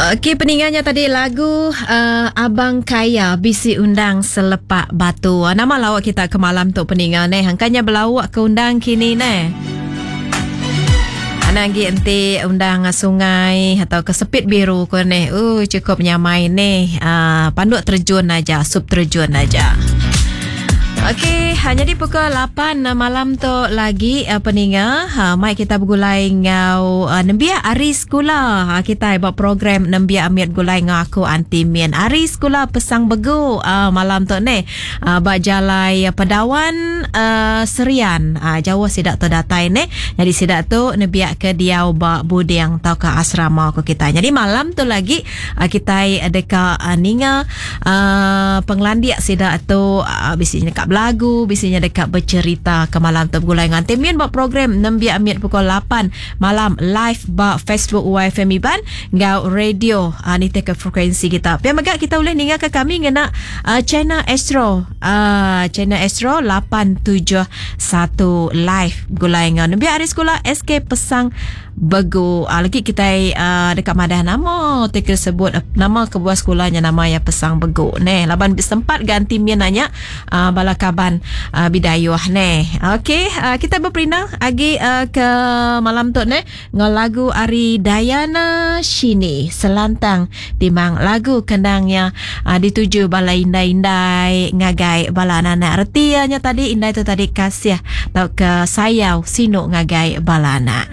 Okey peninga nya tadi lagu uh, Abang Kaya bisi undang selepak batu. Ah, nama lawak kita ke malam tu peninga neh. Angkanya belawak ke undang kini neh. Anang agi enti undang sungai atau ke sepit biru ko neh. Uh cukup nyamai neh. Uh, panduk terjun aja, sup terjun aja. Okey, ha, jadi pukul 8 eh, malam tu lagi eh, peninga, ha, mai kita begulai ngau eh, nembiak ari sekula ha, kita ba program nembiak amit begulai ngau aku Anti Min. Ari sekula Pesang Begu malam tu ni ba jalai Pedawan Serian. Jauh sida tu datai ni. Jadi sida tu nembiak ke diau ba buding tauka asrama ko kita. Jadi malam tu lagi Kitai deka ninga pengelandik sida tu bisi nya deka belagu, bisi nya deka becherita ke malam tu begulai enggau Aunty Min ba program Nembiak Mit pukul lapan malam live ba Facebook YFM Iban enggau radio nitihka frekuensi kita. Pia mega kita ulih ningaka kami ngena channel Astro channel Astro 871 live begulai enggau Nembiak Hari Sekula SK Pesang Begu. Lagi kitai deka madah nama ti ke sebut nama kebuah sekula nya nama iya Pesang Begu neh laban sempat ga anti min nya bala kaban Bidayuh neh. Okey kitai beperindang agi ke malam tu neh enggau lagu ari Dayana Shini Selantang Timang lagu kendang iya dituju bala indai-indai ngagai bala anak-anak. Reti iya nya tadi indai tu tadi kasih tauka sayau sinu ngagai bala anak.